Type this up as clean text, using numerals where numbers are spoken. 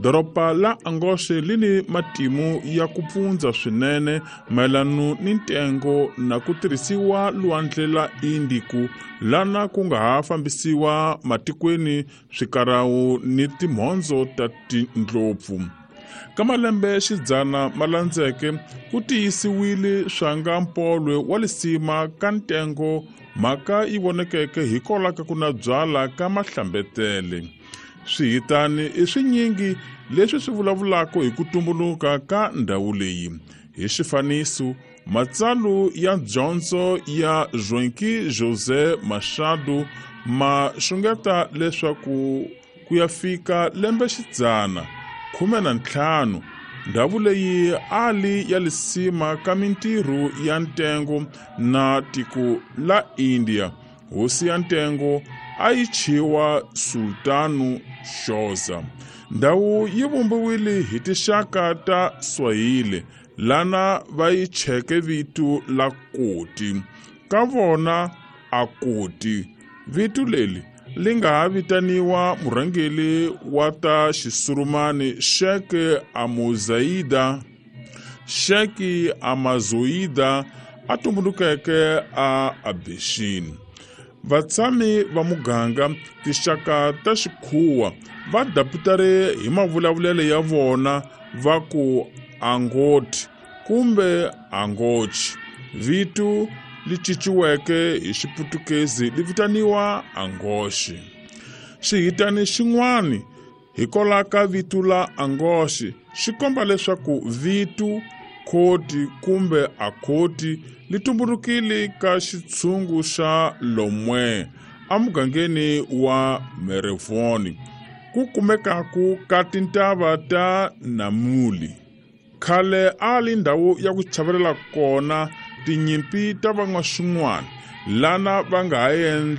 Doroba la Angoxe li ni matimu ya ku pfundza swinene mayelano ni ntengo na ku tirhisiwa lwandle la Indiku lana ku nga ha fambisiwa matikweni swikarawu ni timhondzo ta tindlopfu. Ka malembe xidzana ma landzeke ku tiyisiwile swanga mpolwe wa lisima ka ntengo mhaka yi vonekeke hikwalaho ka ku na byala ka mahlambetele. Swihitani i swinyingi leswi swi vulavulaka hi ku tumbuluka ka ndhawu leyi. Hi xifaniso, matsalu ya dyondzo ya Joaquim José Machado ma xungeta leswaku ku ya fika lembe xidzana 15 ndhawu leyi a li ya lisima ka mintirho ya ntengo na tiko la India. Hosi ya ntengo a yi chiwa Sultanu Xoza. Ndhawu yi vumbiwile hi tinxaka ta Swahili lana va yi cheke vito la Koti. Ka vona a Koti vito leri li nga ha vitaniwa murhangeri wa ta xisurumani Sheikh Amuzaida Sheikh Amazoida a tumbulukeke a Abeshin. Vatshami va muganga tinxaka ta xikhuwa va daputare hi mavulavulelo ya vona va ku Angoti kumbe Angochi. Vito li cinciweke hi Xiputukezi li vitaniwa Angoxe. Xihitani xin'wana hikwalaho ka vito la Angoxe xi komba leswaku vito Khoti kumbe Akhoti li tumbulukile ka xitshungu xa Lomwe emugangeni wa Merevoni ku kumekaku ka tintava ta Namuli. Khale a li ndhawu ya ku chavelela kona tinyimpi ta van'waxin'wana lana va nga ha endla.